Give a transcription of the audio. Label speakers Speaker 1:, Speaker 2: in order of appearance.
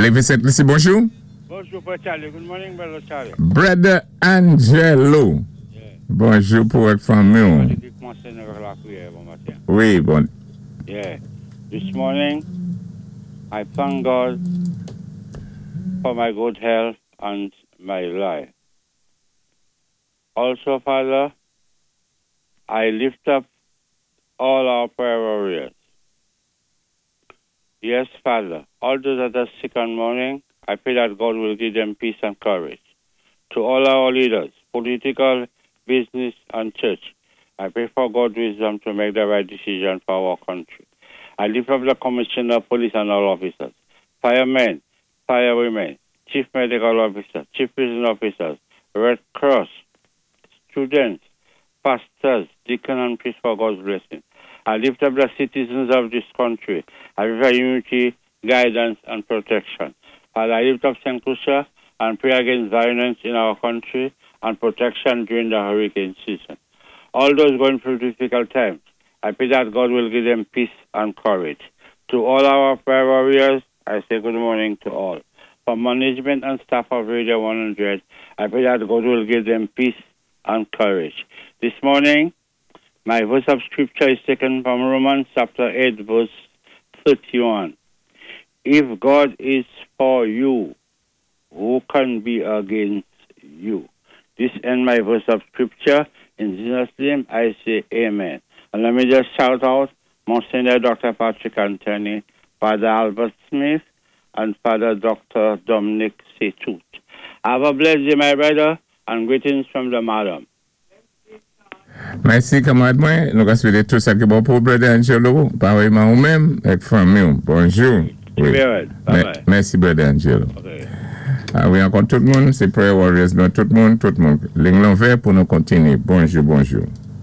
Speaker 1: Lévi Sent Lisi, bonjou.
Speaker 2: Bonjou, Frè Charlie. Good morning, Brother Charlie.
Speaker 1: Brother Angelo. Bonjou pou ak fanmi.
Speaker 2: Kòmansé avèk lapriyè bon maten.
Speaker 1: Wi, bon.
Speaker 2: Yeah. This morning, I thank God for my good health and my life. Also, Father, I lift up all our prayer warriors. Yes, Father, all those that are sick and mourning, I pray that God will give them peace and courage. To all our leaders, political, business, and church, I pray for God's wisdom to make the right decision for our country. I lift up the commissioner of police and all officers, firemen, firewomen, chief medical officer, chief prison officers, Red Cross, students, pastors, deacon and priests for God's blessing. I lift up the citizens of this country. I pray for unity, guidance, and protection. Father, I lift up St. Lucia and pray against violence in our country and protection during the hurricane season. All those going through difficult times, I pray that God will give them peace and courage. To all our prayer warriors, I say good morning to all. For management and staff of Radio 100, I pray that God will give them peace and courage. This morning, my verse of scripture is taken from Romans chapter 8, verse 31. If God is for you, who can be against you? This end my verse of scripture. In Jesus' name, I say amen. And let me just shout out Monsignor Dr. Patrick Anthony, Father Albert Smith, and Father Dr. Dominic Setut. Have a blessed day, my brother, and greetings from the madam.
Speaker 1: Mèsi, kanmarad mwen. Nou ka swété tout sa ki bon pou Brother Angelo. Parèyman ou menm, ak fanmi. Bonjou. Wi.
Speaker 2: Bye-bye.
Speaker 1: Mèsi, Brother Angelo.
Speaker 2: Okay.
Speaker 1: A wi, ankò tout moun, sé Prayer Warriors, nou tout moun, tout moun. Liy lan ouvè pou nou kontinyé. Bonjou, bonjou.